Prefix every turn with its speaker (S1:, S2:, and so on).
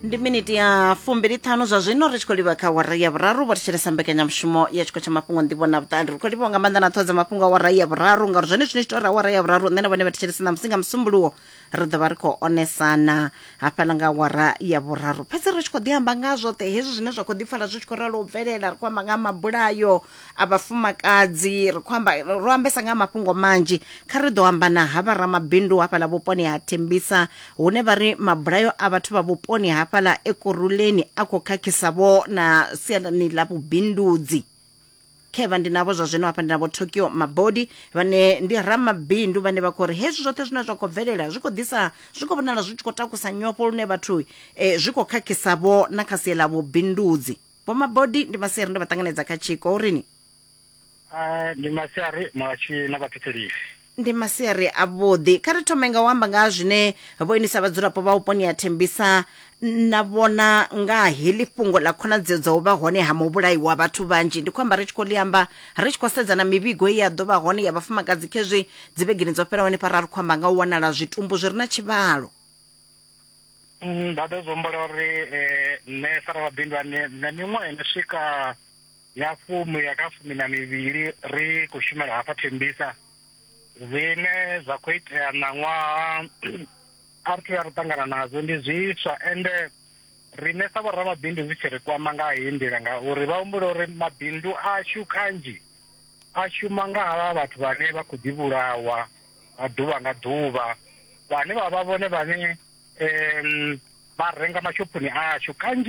S1: Ndi miniti ya 25 zwa zwino ri tshi khou livha kha awara ya vhuraru. Vho thetshelesa mbekanyamushumo ya tshiko tsha mafhungo, nḓivho na vhuṱali. Ri khou livhuwa nga maanḓa na ṱhoho dza mafhungo awara ya vhuraru, ngauri zwone zwine tshi tou ri awara ya vhuraru, nṋe na vhone vha thetshelesa ṋamusi nga Musumbuluwo ri ḓo vha ri khou onesana hafhaḽa nga awara ya vhuraru. Fhedzi ri tshi khou ḓi amba nga zwoṱhe hezwi zwine zwa khou ḓi pfala zwi tshi khou ralo u bvelela, ri khou amba nga mabulayo a vhafumakadzi, ri khou amba, ro ambesa nga mafhungo manzhi. Kha ri ḓo amba na havha ramabindu hafhaḽa vhuponi ha Thembisa, hune vha ri mabulayo a vhathu vha vhuponi hafhaḽa Ekurhuleni a khou khakhisa vho na siani ḽa vhubindudzi. Khevha ndi navho zwa zwino hafha, ndi navho Tokyo Mabodi, vhane ndi ramabindu, vhane vha khou ri hezwi zwoṱhe zwine zwa khou bvelela zwi khou ḓisa, zwi khou vhonala zwi tshi khou takusa nyofho lune vhathu zwi khou khakhisa vho na kha sia ḽa vhubindudzi. Vho Mabodi, ndi masiari, ndo vha ṱanganedza kha tshiko urini?
S2: Ndi masiari muhatshi na vhathetshelisi.
S1: Ndi masiari avhuḓi. Kha ri thome nga u amba nga ha zwine vho inisa vhadzulapo vha vhuponi ha Thembisa na vhona nga heḽi fhungo ḽa khonadzeo dza u vha hone ha muvhulayi wa vhathu vhanzhi. Ndi khou amba ri tshi khou ḽi amba ri tshi khou sedza na mivhigo ye ya ḓo vha hone ya vhafumakadzi khezwi dzivhegeni dzo fhelaho hanefha ra ri khou amba nga u wanala zwitumbu zwi re na tshivhalo.
S2: Nda ḓo zwi humbula uri nṋe sa ramabindu ane nṋe miṅwaha ino swika ya fumi ya kha 12 ri khou shumela hafha Thembisa. Zwine zwa khou itea ṋaṅwaha a ri thu vhuya ra ṱangana nazwo, ndi zwiswa, ende riṋe sa vhoramabindu zwi tshi ri kwama nga heyi nḓila, ngauri vha humbula uri mabindu ashu kanzhi a shuma nga havha vhathu vhane vha khou ḓi vhulawa nga ḓuvha nga ḓuvha, vhane vha vha vhone vhane vha renga mashophoni ashu kanzhi.